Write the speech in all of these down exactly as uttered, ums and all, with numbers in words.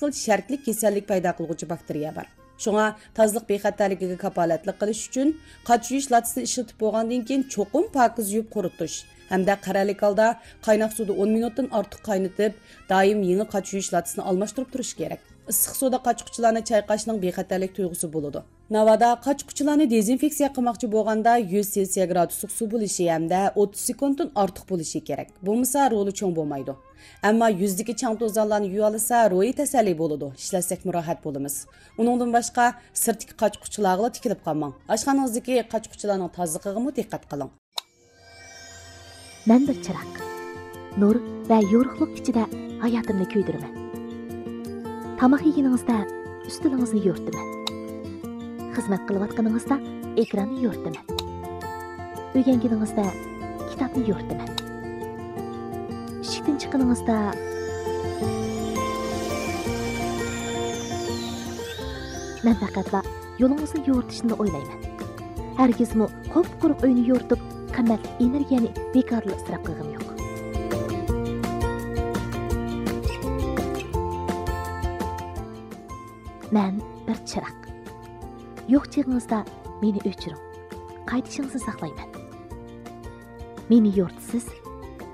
خىل شەرتلىك كېسەللىك پەيدا قىلغۇچى باكتېرىيە بار. شۇڭا تازىلىق بىخەتەرلىكىگە كاپالەتلىك قىلىش ئۈچۈن، قاچا يۇيۇش لاتىسىنى ئىشلىتىپ بولغاندىن كېيىن چوقۇم پاكىز يۇيۇپ قۇرۇتۇش ھەمدە قەرەللىك ھالدا قايناق سۇدا ئون مىنۇتتىن ئارتۇق قاينىتىپ، دائىم يېڭى قاچا يۇيۇش لاتىسىنى ئالماشتۇرۇپ تۇرۇش كېرەك. ئىسسىق سۇدا قاچا-قۇچىلارنى چايقاشنىڭ بىخەتەرلىك تۇيغۇسى بولىدۇ. ناۋادا قاچا-قۇچىلارنى دېزىنفېكسىيە قىلماقچى بولغاندا، يۈز سېلسىيە گرادۇسلۇق سۇ بولۇشى ھەمدە ئوتتۇز سېكۇنتتىن ئارتۇق بولۇشى كېرەك. بولمىسا، رولى چوڭ بولمايدۇ. ئەمما يۈزدىكى چاڭ-توزانلارنى يۇيالىسا، روھىي تەسەللى بولىدۇ، ئىشلەتسەكمۇ راھەت بولىمىز. ئۇنىڭدىن باشقا، سىرتتىكى قاچا-قۇچىلارغىلا تىكىلىپ قالماڭ. ئاشخانىڭىزدىكى قاچا-قۇچىلارنىڭ تازىلىقىغىمۇ دىققەت قىلىڭ. مەن بىر چىراغ. نۇر ۋە يورۇقلۇق ئىچىدە ھاياتىمنى كۆيدۈرىمەن. تاماق يېگىنىڭىزدە ئۈستىلىڭىزنى يورۇتىمەن. خىزمەت قىلىۋاتقىنىڭىزدا ئېكراننى يورۇتىمەن. ئۆگەنگىنىڭىزدە كىتابنى يورۇتىمەن. ئىشىكتىن چىققىنىڭىزدا مەن پەقەتلا يولىڭىزنى يورۇتۇشنىلا ئويلايمەن. ھەرگىزمۇ قۇپقۇرۇق ئۆينى يورۇتۇپ، قىممەتلىك ئېنېرگىيەنى بىكارلا ئىسراپ قىلغۇم يوق. مەن بىر چىراغ. يوق چېغىڭىزدا مېنى ئۆچۈرۈڭ. قايتىشىڭىزنى ساقلايمەن. مېنى يورۇتىسىز،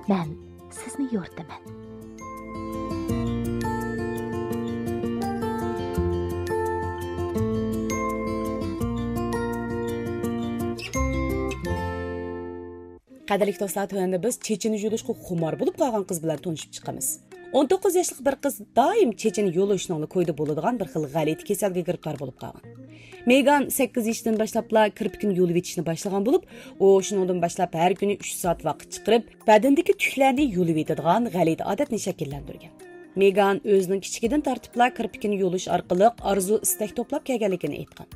مەن سىزنى يورۇتىمەن. قەدىرلىك دوستلار، تۆۋەندە بىز چېچىنى يۇلۇشقا خۇمار بولۇپ قالغان قىز بىلەن تونۇشۇپ چىقىمىز. ئون توققۇز ياشلىق بىر قىز دائىم چېچىنى يۇلۇشنىڭلا كويىدا بولىدىغان بىر خىل غەلىتە كېسەلگە گىرىپتار بولۇپ قالغان. مېگان سەككىز يېشىدىن باشلاپلا كىرپىكىنى يۇلۇۋېتىشنى باشلىغان بولۇپ، ئۇ شۇنىڭدىن باشلاپ ھەر كۈنى ئۈچ سائەت ۋاقىت چىقىرىپ، بەدىنىدىكى تۈكلەرنى يۇلۇۋېتىدىغان غەلىتە ئادەتنى شەكىللەندۈرگەن. مېگان ئۆزىنىڭ كىچىكىدىن تارتىپلا كىرپىكىنى يۇلۇش ئارقىلىق ئارزۇ-ئىستەك توپلاپ كەلگەنلىكىنى ئېيتقان.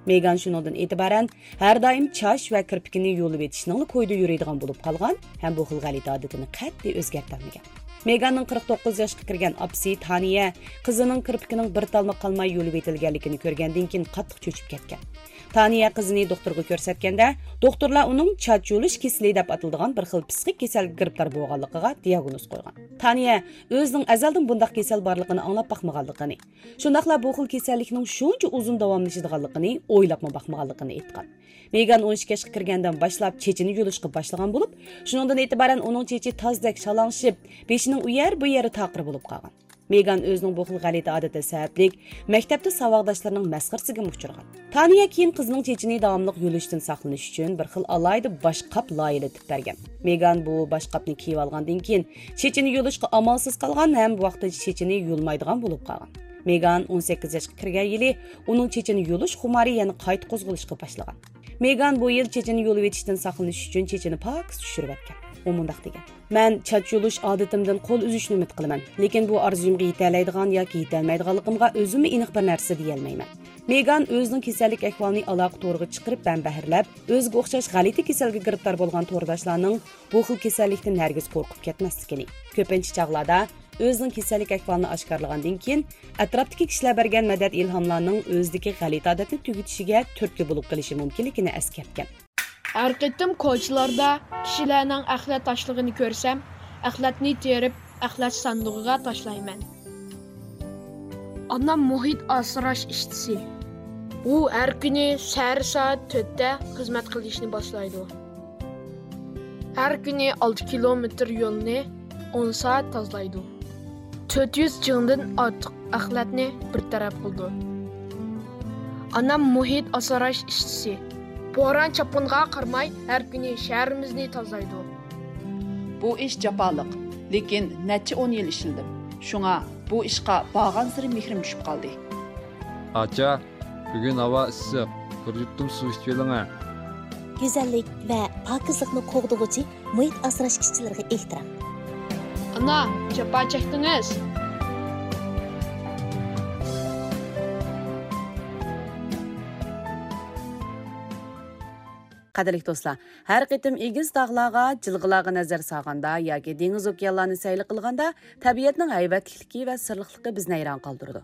مېگان شۇنىڭدىن ئېتىبارەن ھەر دائىم چاچ ۋە كىرپىكىنى يۇلۇۋېتىشنىڭلا كويىدا يۈرىدىغان بولۇپ قالغان ھەم بۇ خىل غەلىتە ئادىتىنى قەتئىي ئۆزگەرتەلمىگەن. مېگاننىڭ قىرىق توققۇز ياشقا كىرگەن ئاپىسى تانىيە قىزىنىڭ كىرپىكىنىڭ بىر تالما قالماي يۇلۇۋېتىلگەنلىكىنى كۆرگەندىن كېيىن قاتتىق چۆچۈپ كەتكەن. تانىيە قىزىنى دوختۇرغا كۆرسەتكەندە، دوختۇرلار ئۇنىڭ چاچ يۇلۇش كېسىلى دەپ ئاتىلىدىغان بىر خىل پسىخىك كېسەلگە گىرىپتار بولغانلىقىغا دىياگنوز قويغان. تانىيە ئۆزىنىڭ ئەزەلدىن بۇنداق كېسەل بارلىقىنى ئاڭلاپ باقمىغانلىقىنى، شۇنداقلا بۇ خىل كېسەللىكنىڭ شۇنچە ئۇزۇن داۋاملىشىدىغانلىقىنى ئويلاپمۇ باقمىغانلىقىنى ئېيتقان. مېگان ئون ئىككى ياشقا كىرگەندىن باشلاپ چېچىنى يۇلۇشقا باشلىغان بولۇپ، شۇنىڭدىن ئېتىبارەن ئۇنىڭ چېچى تازدەك شالاڭشىپ، بېشىنىڭ ئۇ يەر، بۇ يېرى تاقىر بولۇپ قالغان. مېگان ئۆزىنىڭ بۇ خىل غەلىتە ئادىتى سەۋەبلىك مەكتەپتە ساۋاقداشلىرىنىڭ مەسخىرىسىگىمۇ ئۇچرىغان. تانىيە كېيىن قىزىنىڭ چېچىنى داۋاملىق يۇلۇشتىن ساقلىنىش ئۈچۈن بىر خىل ئالاھىدە باشقاپ لايىھىلىتىپ بەرگەن. مېگان بۇ باشقاپنى كىيىۋالغاندىن كېيىن، چېچىنى يۇلۇشقا ئامالسىز قالغان ھەم ۋاقتىنچە چېچىنى يۇلمايدىغان بولۇپ قالغان. مېگان ئون سەككىز ياشقا كىرگەن يىلى ئۇنىڭ چېچىنى يۇلۇش خۇمارى يەنە قايتا قوزغىلىشقا باشلىغان. مېگان بۇ يىل چېچىنى يۇلۇۋېتىشتىن ساقلىنىش ئۈچۈن چېچىنى پاكىز چۈشۈرۈۋەتكەن. ئۇ مۇنداق دېگەن: «مەن چاچ يۇلۇش ئادىتىمدىن قول ئۈزۈشنى ئۈمىد قىلىمەن، لېكىن بۇ ئارزۇيۇمغا يېتەلەيدىغان ياكى يېتەلمەيدىغانلىقىمغا ئۆزۈممۇ ئېنىق بىر نەرسە دېيەلمەيمەن.» مېگان ئۆزىنىڭ كېسەللىك ئەھۋالىنى ئالاقە تورىغا چىقىرىپ مەنبەلەرلەپ، ئۆزىگە ئوخشاش غەلىتە كېسەلگە گىرىپتار بولغان تورداشلارنىڭ بۇ خىل كېسەللىكتىن ھەرگىز قورقۇپ كەتمەسلىكىنى، كۆپىنچە چاغلاردا ئۆزىنىڭ كېسەللىك ئەھۋالىنى ئاشكارىلىغاندىن كېيىن، ئەتراپتىكى كىشىلەر بەرگەن مەدەت-ئىلھاملارنىڭ ئۆزىدىكى غەلىتە ئادەتنى تۈگىتىشىگە تۈرتكە بولۇپ قېلىشى مۇمكىنلىكىنى ئەسكەرتكەن. ھەر قېتىم كوچىلاردا كىشىلەرنىڭ ئەخلەت تاشلىغىنى كۆرسەم، ئەخلەتنى تېرىپ، ئەخلەت ساندۇقىغا تاشلايمەن. ئانام مۇھىت ئاسراش ئىشچىسى. ئۇ ھەر كۈنى سەھەر سائەت تۆتتە خىزمەت قىلىشنى باشلايدۇ. ھەر كۈنى ئالتە كىلومېتىر يولنى ئون سائەت تازىلايدۇ. تۆت يۈز جىڭدىن ئارتۇق ئەخلەتنى بىر تەرەپ قىلىدۇ. ئانام مۇھىت ئاسراش ئىشچىسى. بوران-چاپقۇنغا قارىماي، ھەر كۈنى شەھىرىمىزنى تازىلايدۇ. بۇ ئىش جاپالىق، لېكىن نەچچە ئون يىل ئىشلىدىم. شۇڭا بۇ ئىشقا بارغانسېرى مېھرىم چۈشۈپ قالدى. ئاچا، بۈگۈن ھاۋا ئىسسىق، بىر يۇتۇم سۇ ئىچىۋېلىڭە. گۈزەللىك ۋە پاكىزلىقنى قوغدىغۇچى مۇھىت ئاسراش ئىشچىلىرىغا ئېھتىرام. ئانا، جاپا چەكتىڭىز. قەدىرلىك دوستلار، ھەر قېتىم ئېگىز تاغلارغا، جىلغىلارغا نەزەر سالغاندا ياكى دېڭىز-ئوكيانلارنى سەيلە قىلغاندا، تەبىئەتنىڭ ھەيۋەتلىكلىكى ۋە سىرلىقلىقى بىزنى ھەيران قالدۇرىدۇ.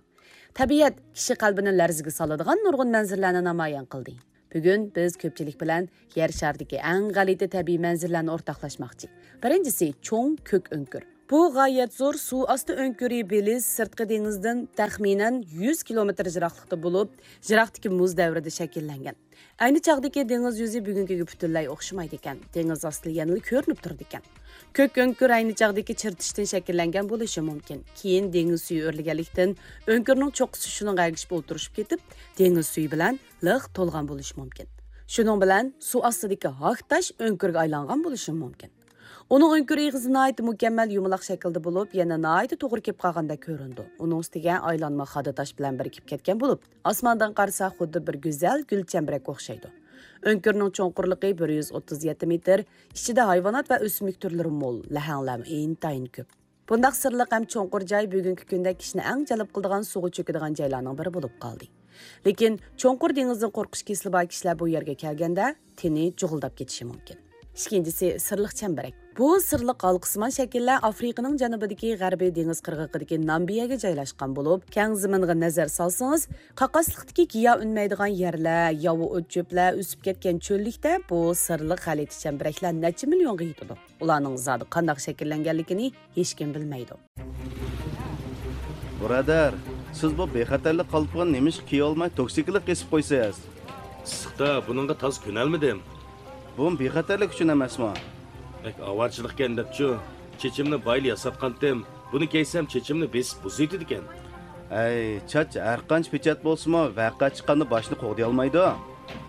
تەبىئەت كىشى قەلبىنى لەرزىگە سالىدىغان نۇرغۇن مەنزىرىلەرنى نامايان قىلدى. بۈگۈن بىز كۆپچىلىك بىلەن يەر شارىدىكى ئەڭ غەلىتە تەبىئىي مەنزىرىلەرنى ئورتاقلاشماقچى. بىرىنچىسى، چوڭ كۆك ئۆڭكۈر. بۇ غايەت زور سۇ ئاستى ئۆڭكۈرى بېلىز سىرتقى دېڭىزدىن تەخمىنەن يۈز كىلومېتىر يىراقلىقتا بولۇپ، يىراقتىكى مۇز دەۋرىدە شەكىللەنگەن. ئەينى چاغدىكى دېڭىز يۈزى بۈگۈنكىگە پۈتۈنلەي ئوخشىمايدىكەن، دېڭىز ئاستى يەنىلا كۆرۈنۈپ تۇرىدىكەن. كۆك ئۆڭكۈر ئەينى چاغدىكى چىرتىشتىن شەكىللەنگەن بولۇشى مۇمكىن. كېيىن دېڭىز سۈيى ئۆرلىگەنلىكتىن، ئۆڭكۈرنىڭ چوققىسى شۇنىڭغا ئەگىشىپ ئولتۇرۇشۇپ كېتىپ، دېڭىز سۈيى بىلەن لىق تولغان بولۇشى مۇمكىن. شۇنىڭ بىلەن سۇ ئاستىدىكى ھاك تاش ئۆڭكۈرگە ئايلانغان بولۇشى مۇمكىن. ئۇنىڭ ئۆڭكۈر ئېغىزى ناھايىتى مۇكەممەل يۇمىلاق شەكىلدە بولۇپ، يەنە ناھايىتى توغرا كېلىپ قالغاندەك كۆرۈنىدۇ. ئۇنىڭ ئۈستىگە ئايلانما خادا تاش بىلەن بىرىكىپ كەتكەن بولۇپ، ئاسماندىن قارىسا خۇددى بىر گۈزەل گۈل چەمبىرەككە ئوخشايدۇ. ئۆڭكۈرنىڭ چوڭقۇرلۇقى بىر يۈز ئوتتۇز يەتتە مېتىر، ئىچىدە ھايۋانات ۋە ئۆسۈملۈك تۈرلىرى مول، لەھەڭلەرمۇ ئىنتايىن كۆپ. بۇنداق سىرلىق ھەم چوڭقۇر جاي بۈگۈنكى كۈندە كىشىنى ئەڭ جەلپ قىلىدىغان سۇغا چۆكىدىغان جايلارنىڭ بىرى بولۇپ قالدى. لېكىن چوڭقۇر دېڭىزدىن قورقۇش كېسىلى بار كىشىلەر بۇ يەرگە كەلگەندە تېنى جۇغۇلداپ كېتىشى مۇمكىن. ئىككىنچىسى، سىرلىق چەمبىرەك. بۇ سىرلىق ھالقىسىمان شەكىللەر ئافرىقىنىڭ جەنۇبىدىكى غەربىي دېڭىز قىرغىقىدىكى نامىبىيەگە جايلاشقان بولۇپ، كەڭ زېمىنغا نەزەر سالسىڭىز، قاقاسلىقتىكى گىياھ ئۈنمەيدىغان يەرلەر، ياۋا ئوت-چۆپلەر ئۆسۈپ كەتكەن چۆللۈكتە بۇ سىرلىق غەلىتە چەمبىرەكلەر نەچچە مىليونغا يېتىدۇ. ئۇلارنىڭ زادى قانداق شەكىللەنگەنلىكىنى ھېچكىم بىلمەيدۇ. بۇرادەر، سىز بۇ بىخەتەرلىك قالپىقىنى نېمىشقا كىيەلمەي توكسىكلىق قېسىپ قويىسىز؟ ئىسسىقتا بۇنىڭغا تازا كۆنەلمىدىم. بۇمۇ بىخەتەرلىك ئۈچۈن ئەمەسمۇ؟ بەك ئاۋارىچىلىقكەن دەپچۇ. چېچىمنى بايىلا ياساتقانتىم. بۇنى كىيسەم چېچىمنى بېسىپ بۇزۇۋېتىدىكەن. ئەي، چاچ ھەرقانچە پېچەت بولسىمۇ، ۋەقە چىققاندا باشنى قوغدىيالمايدۇ.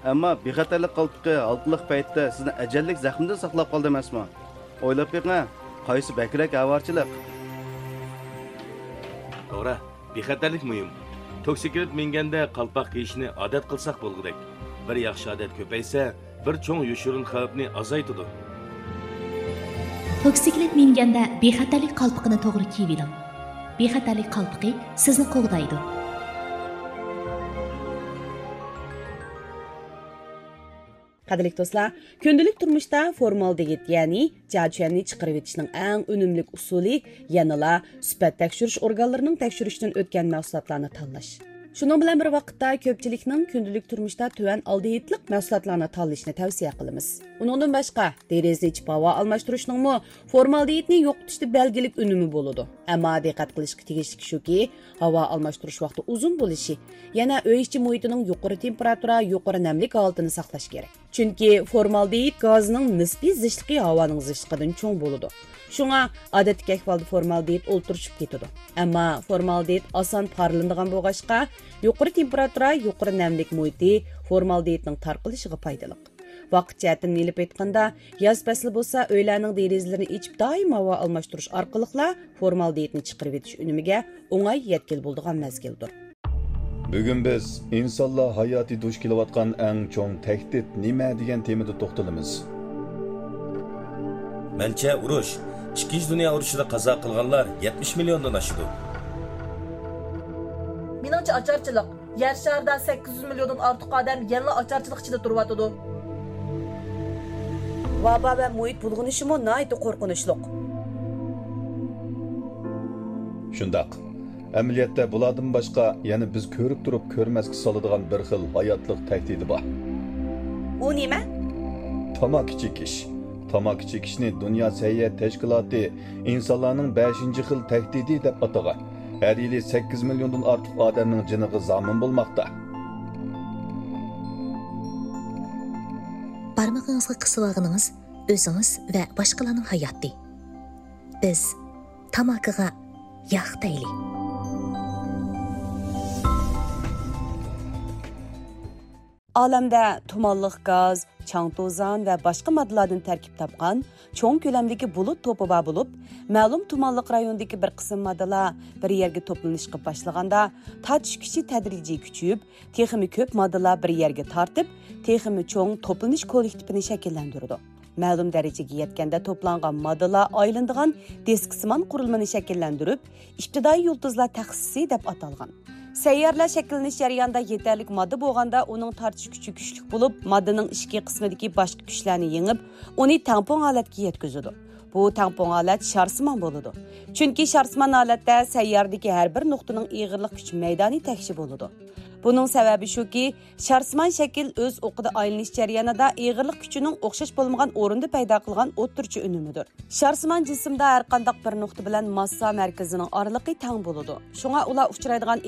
ئەمما بىخەتەرلىك قالپىقى ھالقىلىق پەيتتە سىزنى ئەجەللىك زەخمىدىن ساقلاپ قالدى ئەمەسمۇ؟ ئويلاپ بېقىڭ، قايسى بەكرەك ئاۋارىچىلىق؟ توغرا، بىخەتەرلىك مۇھىم. توكسىكلىت مىنگەندە قالپاق كىيىشنى ئادەت قىلساق بولغۇدەك. بىر ياخشى ئادەت كۆپەيسە، بىر چوڭ يوشۇرۇن خەۋپنى ئازايتىدۇ. توكسىكلىت مىنگەندە بىخەتەرلىك قالپىقىنى توغرا كىيىۋېلىڭ. بىخەتەرلىك قالپىقى سىزنى قوغدايدۇ. قەدىرلىك دوستلار، كۈندىلىك تۇرمۇشتا فورمالدېگىد، يەنى جياچۈەننى چىقىرىۋېتىشنىڭ ئەڭ ئۈنۈملۈك ئۇسۇلى يەنىلا سۈپەت تەكشۈرۈش ئورگانلىرىنىڭ تەكشۈرۈشىدىن ئۆتكەن مەھسۇلاتلارنى تاللاش. شۇنىڭ بىلەن بىر ۋاقىتتا، كۆپچىلىكنىڭ كۈندىلىك تۇرمۇشتا تۆۋەن ئالدېھىدلىق مەھسۇلاتلارنى تاللىشىنى تەۋسىيە قىلىمىز. ئۇنىڭدىن باشقا، دېرىزىنى ئېچىپ ھاۋا ئالماشتۇرۇشنىڭمۇ فورمالدېگىدنى يوقىتىشتا بەلگىلىك ئۈنۈمى بولىدۇ. ئەمما دىققەت قىلىشقا تېگىشلىك شۇكى، ھاۋا ئالماشتۇرۇش ۋاقتى ئۇزۇن بولۇشى، يەنە ئۆي ئىچى مۇھىتىنىڭ يۇقىرى تېمپېراتۇرا، يۇقىرى نەملىك ھالىتىنى ساقلاش كېرەك. چۈنكى فورمالدېگىد گازىنىڭ نىسپىي زىچلىقى ھاۋانىڭ زىچلىقىدىن چوڭ بولىدۇ. شۇڭا ئادەتتىكى ئەھۋالدا فورمالدېگىد ئولتۇرۇشۇپ كېتىدۇ. ئەمما فورمالدېگىد ئاسان پارلىنىدىغان بولغاچقا، يۇقىرى تېمپېراتۇرا، يۇقىرى نەملىك مۇھىتى فورمالدېگىدنىڭ تارقىلىشىغا پايدىلىق. ۋاقىت جەھەتتىن ئېلىپ ئېيتقاندا، ياز پەسلى بولسا ئۆيلەرنىڭ دېرىزىلىرىنى ئېچىپ، دائىم ھاۋا ئالماشتۇرۇش ئارقىلىقلا فورمالدېگىدنى چىقىرىۋېتىش ئۈنۈمىگە ئوڭاي يەتكىلى بولىدىغان مەزگىلدۇر. بۈگۈن بىز ئىنسانلار ھاياتى دۇچ كېلىۋاتقان ئەڭ چوڭ تەھدىت نېمە دېگەن تېمىدا توختىلىمىز. مەنچە، ئۇرۇش. ئىككىنچى دۇنيا ئۇرۇشىدا قازا قىلغانلار يەتمىش مىليوندىن ئاشىدۇ. مېنىڭچە، ئاچارچىلىق. يەر شارىدا سەككىز يۈز مىليوندىن ئارتۇق ئادەم يەنىلا ئاچارچىلىق ئىچىدە تۇرۇۋاتىدۇ. ۋابا ۋە مۇھىت بۇلغىنىشىمۇ ناھايىتى قورقۇنچلۇق. شۇنداق. ئەمەلىيەتتە بۇلاردىن باشقا يەنە بىز كۆرۈپ تۇرۇپ كۆرمەسكە سالىدىغان بىر خىل ھاياتلىق تەھدىتى بار. ئۇ نېمە؟ تاماكا چېكىش. تاماكا چېكىشنى دۇنيا سەھىيە تەشكىلاتى ئىنسانلارنىڭ بەشىنچى خىل تەھدىتى دەپ ئاتىغان. ھەر يىلى سەككىز مىليوندىن ئارتۇق ئادەمنىڭ جېنىغا زامىن بولماقتا. بارمىقىڭىزغا قىسىۋالغىنىڭىز ئۆزىڭىز ۋە باشقىلارنىڭ ھاياتى. بىز تاماكىغا ياق دەيلى. ئالەمدە تۇمانلىق گاز، چاڭ-توزان ۋە باشقا ماددىلاردىن تەركىب تاپقان چوڭ كۆلەمدىكى بۇلۇت توپى بار بولۇپ، مەلۇم تۇمانلىق رايوندىكى بىر قىسىم ماددىلار بىر يەرگە توپلىنىشقا باشلىغاندا، تارتىش كۈچى تەدرىجىي كۈچىيىپ، تېخىمۇ كۆپ ماددىلار بىر يەرگە تارتىپ، تېخىمۇ چوڭ توپلىنىش كوللېكتىپىنى شەكىللەندۈرىدۇ. مەلۇم دەرىجىگە يەتكەندە توپلانغان ماددىلار ئايلىنىدىغان دىسكىسىمان قۇرۇلمىنى شەكىللەندۈرۈپ، ئىپتىدائىي يۇلتۇزلار تەخسىسى دەپ ئاتالغان. سەييارىلەر شەكىللىنىش جەريانىدا يېتەرلىك ماددا بولغاندا، ئۇنىڭ تارتىش كۈچى كۈچلۈك بولۇپ، ماددىنىڭ ئىچكى قىسمىدىكى باشقا كۈچلەرنى يېڭىپ، ئۇنى تەڭپۇڭ ھالەتكە يەتكۈزىدۇ. بۇ تەڭپۇڭ ھالەت شارسىمان بولىدۇ. چۈنكى شارسىمان ھالەتتە سەييارىدىكى ھەر بىر نۇقتىنىڭ ئېغىرلىق كۈچ مەيدانى تەكشى بولىدۇ. بۇنىڭ سەۋەبى شۇكى، شارسىمان شەكىل ئۆز ئوقىدا ئايلىنىش جەريانىدا ئېغىرلىق كۈچىنىڭ ئوخشاش بولمىغان ئورۇندا پەيدا قىلغان ئوتتۇرىچە ئۈنۈمىدۇر. شارسىمان جىسىمدا ھەرقانداق بىر نۇقتا بىلەن ماسسا مەركىزىنىڭ ئارىلىقى تەڭ بولىدۇ. شۇڭا ئۇلار ئۇچرايدىغان